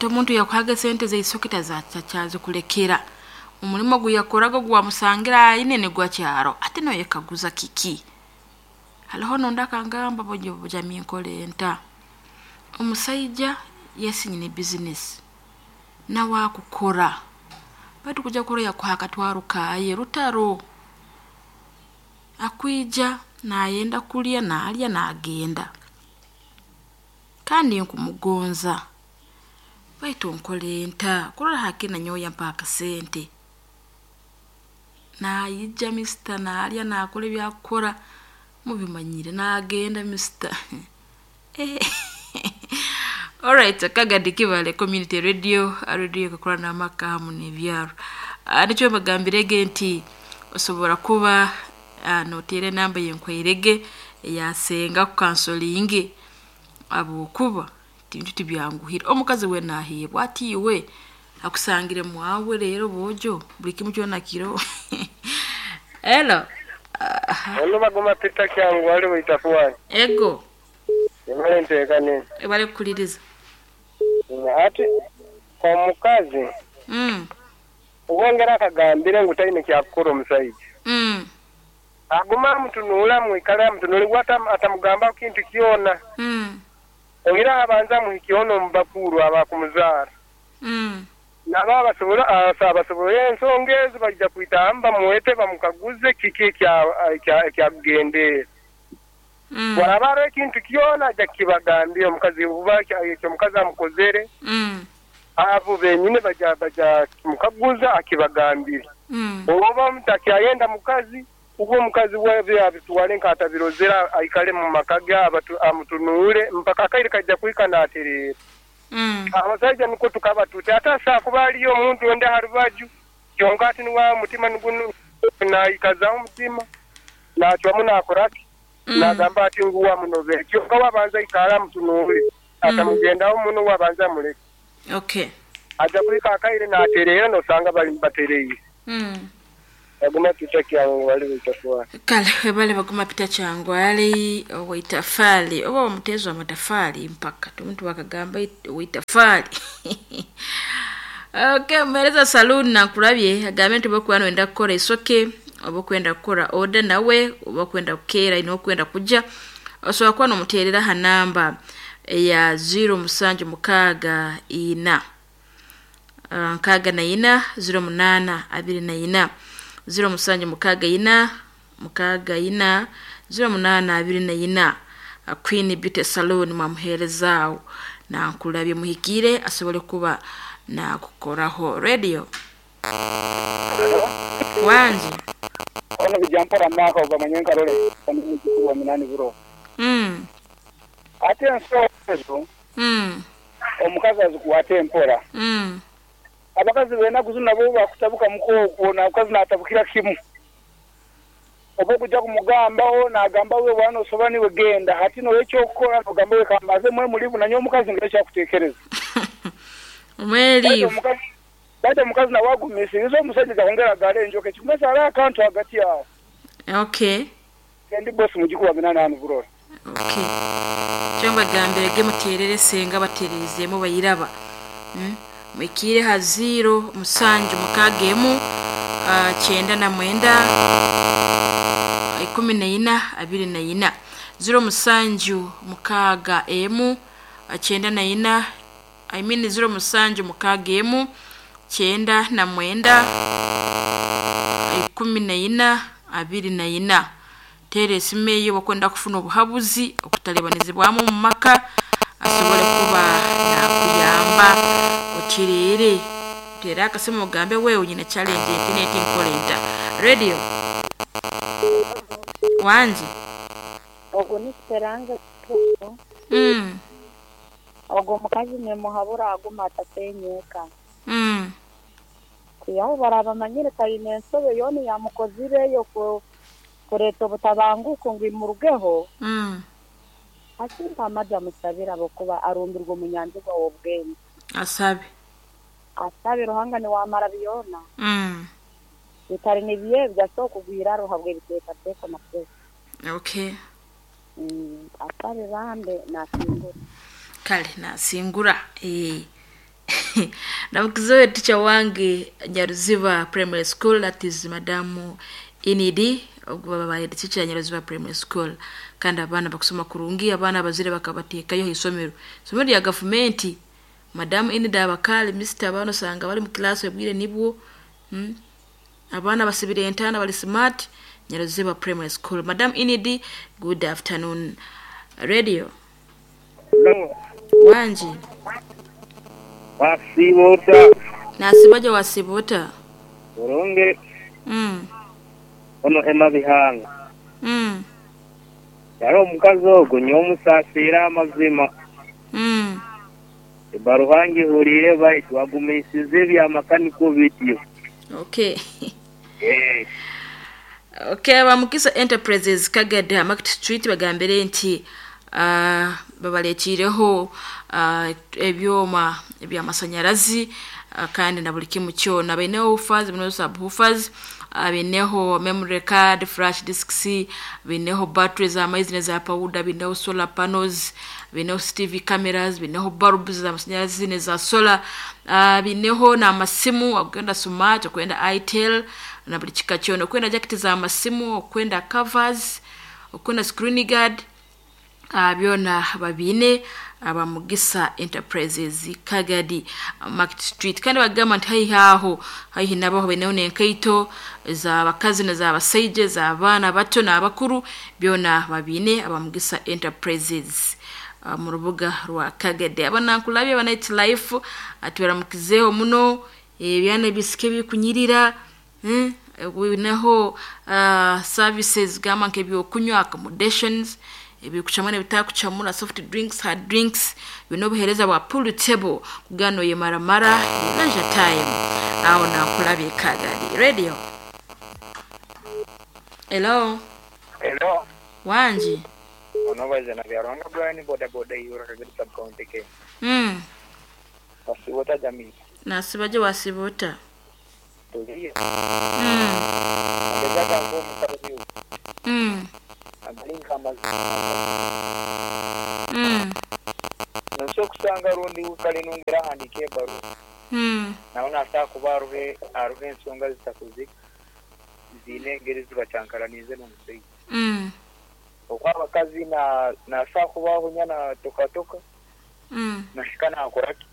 Ate omuntu yakuhaga sente zeisoke tazachazikulekera omulimo guyakoraga gwamusangira aine nigwa kyaro ate noyekaguza kiki. Hariho nondi akangamba bojo bujami nkole nta omusaija yesinyine bizinesi nawe akukora baitu kuja kurora yakuha akatwaro kaye rutaro akwija nayenda kulya nalya nagenda kandi nkumugonza baitu nkole nta kurora hakiri nanyowe yampa akasente naija misita nalya nakora ebyakukora mubimanyire nagenda misita. Alright, Kagadi Kibale Community Radio, radio ekakora n'amaka hamu n'ebyaro. Nikyo mbagambirege nti osobora kuba noteera enamba yenkwairege eyasenga kukansolinge habwokuba tintu tibyanguhire. Omukazi we naheebwa ati iwe akusangire mwawe rero bojo buli kimu kyona kiro. Hello. Ono bagoma Peter Kyangu wali waitafuani. Ego. Emale nteekane. Ebale kukuliriza. Ati omukazi obwongera akagambire ngu taine kyakukora omusaija. Aguma amutunuula mwikale amutunuule atamugamba kintu kyona. Ogira abanza muhikiona omubakuru abakumuzaara. Nabo abasobola ensonga ezo baija kwitamba bamuwete bamukaguze kiki ekyakugendeera. Waraba hariho ekintu kyona aja kukibagambira omukazi oba ekyo omukazi amukozere. Abo benyine baja kimukaguza akibagambire. Oba omuntu mukazi ubwo omukazi we abitwale nkatabirozera aikale mu maka ge amutunuule mpaka akaire kajja kuhika natereera. Abasajja niko tukaba tuti ate asobola kuba aliyo omuntu ondi aha rubaju kyonka ati niwa mutima naikazaho omutima nacwamu nakoraki nagamba ati ngu wamunobere kyonka wabanza ikara amutunuule atamugendaho muno wabanza amuleke. Okay. Aja kuhika akaire natereera nosanga bali batereire. Baguma Peter Kyangu wali waitafali. Kale bale baguma Peter Kyangu ali waitafali oba omutezo amatafali mpaka omuntu wakagamba waitafali. Okay, mmereza saloon nakulabye agambe nti bokuba nwenda kukora isoke oba kwenda kukora order nawe oba kwenda kukeera ino kwenda kuja osobola kuba nomuteerera ha namba eya 0764 64 08 24 0764 64 08 24. Queen Beauty Salon mwamuheerezaawo nankulabye muhikire asobole kuba nakukoraho. Radio wanje ono bijampora maka ogamanye nkarole wa minani buro. Ate ensonga ezo omukazi azikuwate empora. Abakazi benaku zino nabo bakutabuka mukookwo namukazi natabukira kimu oba okujja kumugambaho nagamba we bwana osoba niwe genda hati nowekyokukora nogamba we kambaze mwe mulivu nanye omukazi ngero kyakuteekereza. Mwelivu baitu omukazi nawe agumisiriza omusajja akongera agala enjoka ekikumesa hariho akantu hagati aho. Okay. Ndi bosi mujikuba minani hanu burora. Okay. Kyo mbagambirege muteerere senga batereezeemu bayiraba. Mwikire ha 0 7 6 99 14 24 0 7 6 94 I mean 0 7 6 99 14 24. Tere esimu eyo bakwenda kufuna obuhabuzi okutalebanizibwamu mu maka asobole kuba nakuyamba otirere tera akasimu ogambe wewe nyina challenge eti nkolenta. Radio wanje ogwo ni Esperanza. Ogwo omukazi nemuhabura aguma atasenyeka. Kuyaho barabamanyire taine ensobe yona yamukozireyo kureeta obutabanguko ngu imurugeho. Asimpa amaja amusabira abokuba arumbirwe omunyanzigwa w'obwenge. Asabe. Asabe Ruhanga niwamara byona. Bitari nibiye byasoboka kugwira ruhabwe ebiteekateeko na pressure. Okay. Asabe bambe nasingura. Kale nasingura. Namukizoe teacher wange Nyaruziba Primary School, that is Madamu Inidi, ogwo babaye teacher Nyaruziba Primary School. Kandi abaana bakusoma kurungi, abaana abazire bakabateekayo isomero. Isomero lya gavumenti. Madamu Inidi abakali Mr. Abaana osanga bali mu class obwire nibwo. Abaana basibire entana bali smart. Nyaruziba Primary School. Madam Inidi, good afternoon. Radio. Wanji. Wasibota. Nasibaje wasibota. Burungi. Ono Emma Bihanga. Yari omukazi ogwo nyomusasira amazima. Ebaruhangi hurire baitu agumisize ebya makaniko bityo. Okay. Okay, Bamukisa Enterprises Kagada Market Street bagambire nti babaletireho ebyoma ebyamasanyarazi kandi na buli kimu kyona. Baineho woofers, baineho subwoofers, baineho memory card, flash disks, baineho batteries za maizi neza powder, baineho solar panels, baineho TV cameras, baineho bulbs za masanyarazi neza solar, baineho na masimu okwenda smart, okwenda itel na buli kika kyona, okwenda jacket za masimu, okwenda covers, okwenda screen guard, byona babine Abamugisa Enterprises Kagadi Market Street. Kandi bagamba nti haihi aho haihi nabaho baineho n'enkaito z'abakazi n'ez'abasaija, z'abaana bato n'abakuru, byona babine Abamugisa Enterprises mu rubuga rwa Kagadi. Abanankulabye aba Night Life atubaramukizeho muno, ebyana ebisike bikunyirira, bineho services gamba nk'ebyokunywa, accommodations, ebikuchamura n'ebitakuchamura, soft drinks, hard drinks, bino obuheereza bwa pool table kugano ye maramara leisure time. Aho nankulabye Kagadi Radio. Hello. Hello. Wanji. Onobaze na Byaruhanga Brian boda boda yura Kagadi sub county Kenya. Wasibota jamii. Nasibaje wasibota. Tuliye. Agezaga ngo mukazi. Agalinka amazima. Nso kusanga rundi ukale nongera handike ebbaruha. Naona asa kuba aruhe ensonga zitakuzika ziine engeri zibacyankaranize n'omusaiija. Okwa abakazi nasa kubaho nyana tokatoka. Nashika nakoraki.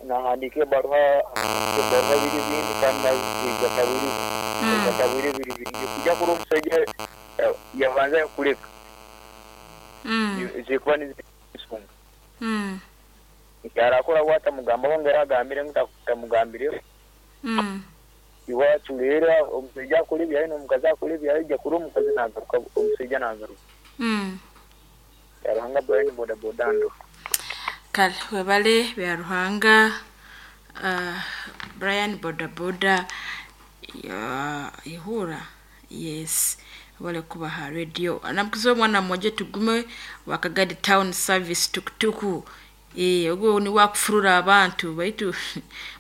Nahandika ebbaruha biri bindi kandi nazigatabiri. Gatabiri biri bindi kujya kuri omusaiija yabanza kuleka. Zikuba nizisonga. Yarakora wata mugamba ngera agambire ngutamugambire. Iwacu rero omusaiija akora ebyaye n'omukazi akora ebyaye, ajja kuri omukazi nagaruka omusaiija nagaruka. Byaruhanga Brian boda boda ndo. Kale webale Byaruhanga Brian boda boda ya ihura. Yes. Wale kubaha radio. Anamukizo mwana mmoja tugume wa Kagadi Town Service tukutuku. Ogwo ni wakufurura abantu baitu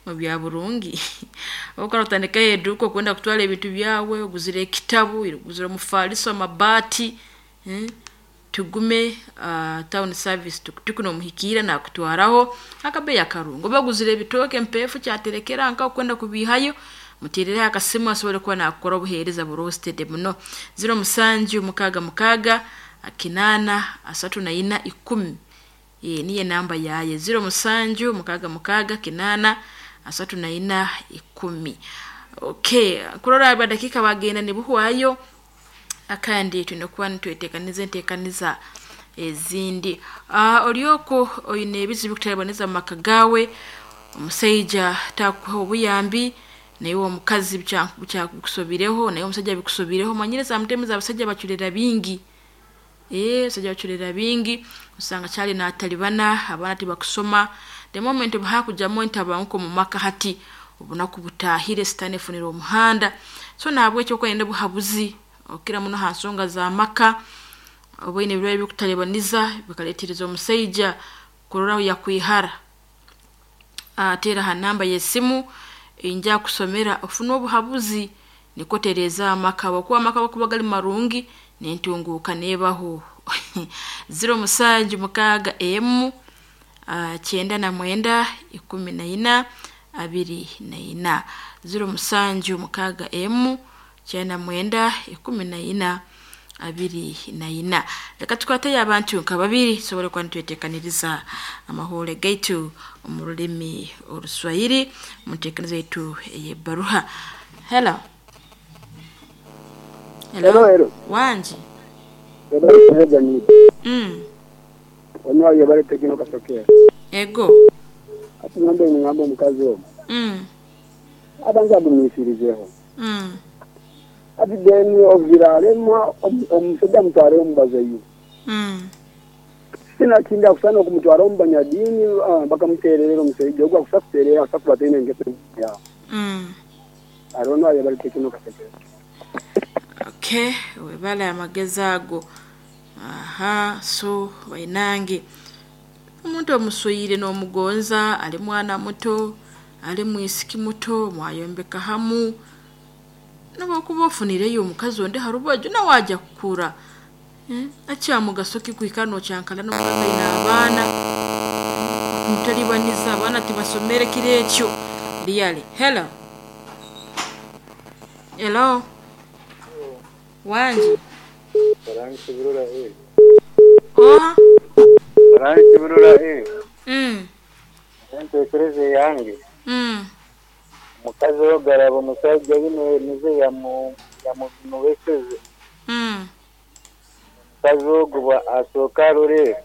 mu bya burungi. Okora utandika eduko kwenda kutwala ebintu byawe, oguzire ekitabu, oguzire omufaliso, amabati. Tugume Town Service tukutuku nomuhikira na kutwaraho akabeya karungo. Baguzire ebitoke mpefu kyaterekera nka kwenda kubihayo. Mutirire akasimu asobole kuba nakora obuheereza burosted muno. 07 6 6 8 34 10. Niye namba yaye 07 6 6 8 34 10. Okay, kurora abadakika bagenda nibuhwayo akandi tunokuba nitwetekaniza entekaniza ezindi. Olyoko oyine ebizibu kutaboneza mu maka gawe, omusaija takuha obuyambi, naye omukazi bikusobireho, naye omusajja bikusobireho. Manyire mutemu abasajja bachulera bingi. Abasajja bachulera bingi, osanga kyali n'atalibana, abaana tibakusoma. The moment bahakujamu entabanguko mu maka hati obunaku butahire sitani efunira omuhanda. So nahabwekyo okwenda buhabuzi okira muno ha nsonga za maka, oboine ebirwaire bikutalibaniza bikaletereza omusaija kuroraho yakwihara. Atera ha namba y'esimu inja kusomera ofuna obuhabuzi nikotereza amaka, wakuwa amaka wakuba gali marungi nentunguka nebaho. 07 6 M 99 14 24 076 M 99 14 24. Reka tukwateyo abantu nka babiri tusobole kuba nitweteekaniriza amahore gaitu omu rulimi Oruswahili mu nteekaniza yaitu ey'ebbaruha. Hello. Hello, hello. Wangi. Hello, hello, ni. Onyo yebale tekino kasokera. Ego. Ati ngambe ngambe omukazi omu. Abanza agumisirizeho. Ati deni oviralema omusajja mutware omubazeyo. Sina kinda kusana okumutwara omubanyadini bakamutererera omusajja ogwo akusakuterera asakubatene engeso ya. Arono yebale tekino kasokera. Okay, webale amagezi ago. Aha, so bainange. Omuntu omuswire n'omugonza ali mwana muto, ali mwisiki muto, mwayombeka hamu. Nobokuba ofunireyo omukazi onde harubaju nawe ajja kukura. Akyamugaso ki kwikara nokyankala n'omukazi aine abaana. Mutalibaniza abaana tibasomere kiro ekyo. Really. Hello. Hello. Wangi. Oha. Entekereza yange. Omukazi ogaraba omusajja bino nize yamunobeseze. Omukazi ogwo asooka arore.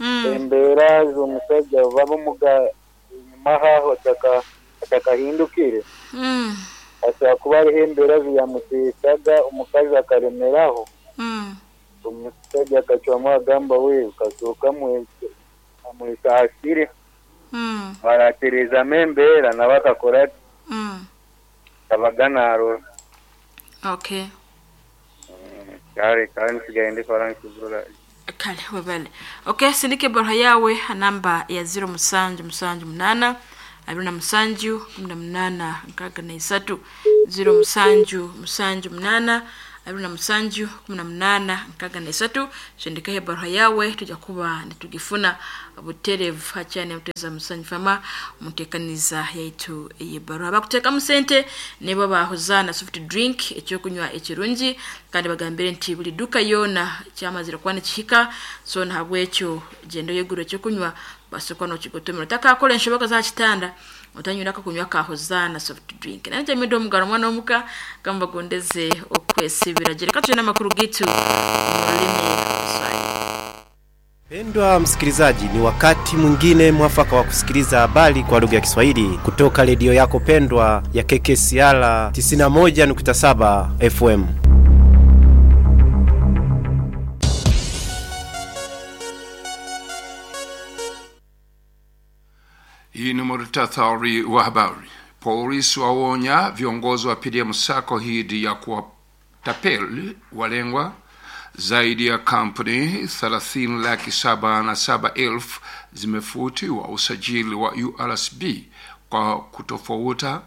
Embeera z'omusajja babamuga enyuma haho atakahindukire. Asobola kuba hariho embeera ziyamuteesaga omukazi akaremeraho. Omusajja akacwamu agamba we kasooka amwesaasire. Baratereezamu embeera nabo akakora abaga narora. Okay. Kale kale nsigaye ndi Faransi. Kale webale. Okay, sindike barha yawe namba ya 0778 27 18 63 0778 27 18 63. Sindika barha yawe tujja kuba nitugifuna buterevu hakyane muteza musanyu fama mutekaniza yaitu ey'ebbaruha. Bakuteekamu sente nebo bahozana soft drink ekyokunywa ekirungi kandi bagambire nti buli duka yona kyamazire kuba nikihika, so nahabwekyo genda oyegure ekyokunywa basokwa nokigotomera otakakora enshoboka za kitanda otanyura kunywa kahozana soft drink. Nanje mido omugaro mwana omuka gamba gondeze okwesibira. Jereka tujye n'amakuru gitu mu rulimi Kiswahili. Pendwa msikilizaji, ni wakati mwingine mwafaka wa kusikiliza habari kwa lugha ya Kiswahili kutoka redio yako pendwa ya KKCR 91.7 FM. Hii ni muhtasari wa habari. Polisi waonya viongozi wa PDM Sacco dhidi ya kuwatapeli walengwa. Zaidi ya kampuni 30,707,000 zimefutiwa usajili wa URSB kwa kutofauta.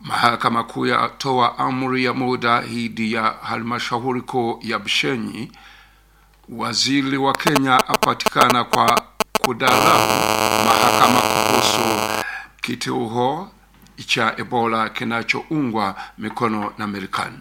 Mahakama Kuu yatoa amri ya muda dhidi ya halmashauri kuu ya Bushenyi. Waziri wa Kenya apatikana kwa kudharau mahakama kuhusu kituo cha Ebola kinachoungwa mikono na Marekani.